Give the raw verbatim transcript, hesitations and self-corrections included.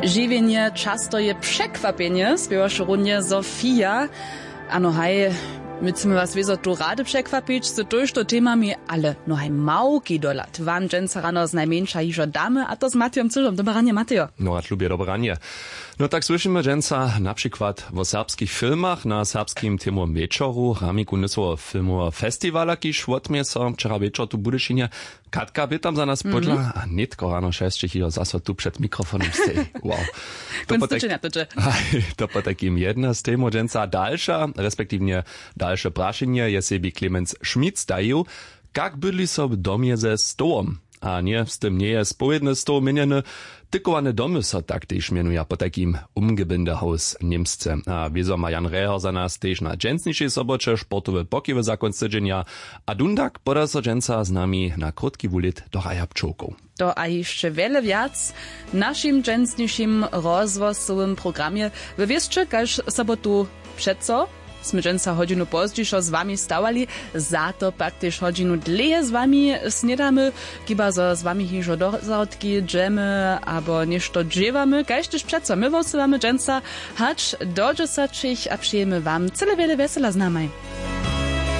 Žiwjenje často je překwapjenje, spěwaše runje Sofia. Ano haj, my chcemy was wězo tu rady překwapić z tójšto temami, ale no haj, małki dohlad wam dźensa rano znajmjeńša hižo damy, a to z Matejom Cyžom. Dobre ranje, Matejo. No a tlubje dobre ranje. No tak słyšimy dźensa na přikład wo serbskich filmach na serbskim temowym wječoru, ramiku nysoweho filmoweho festiwala, kiž wotměje so wčera wječor tu w Budyšinje. Katka bě tam za nas pódla a nětko rano šesćich hižo zaso tu před mikrofonom steji. Wow. To potajkim jedna z temow dźensa. Dalša, respektiwnje dalše prašenje je sebi Clemens Schmidt stajił: Kak bydli so w domje ze stołom? A ně, z tym njeje spowědny stoł měnjeny. Tykowane domy so tak tež mjenuja, potajkim Umgebindehaus němsce. A wězo ma Jan Reher za nas tež na dźensnišej soboće sportowe pokiwy za kónc tydźenja. A dundak poda so dźensa z nami na krótki wulit do raja pčołkow. To a hišće wjele wjac w našim dźensnišim rozhłosowym programje. Wy wěsće, kaž sobotu přeco smy dźensa hodźinu pozdźišo z wami stawali, za to pak tež hodźinu dlěje z wami snědamy, kiba zo z wami hižo do zahrodki dźemy abo něšto dźěłamy, kaž tež přeco my wosylamy dźensa hač do dźesaćich a přejemy wam cyle wjele wjesela z namaj.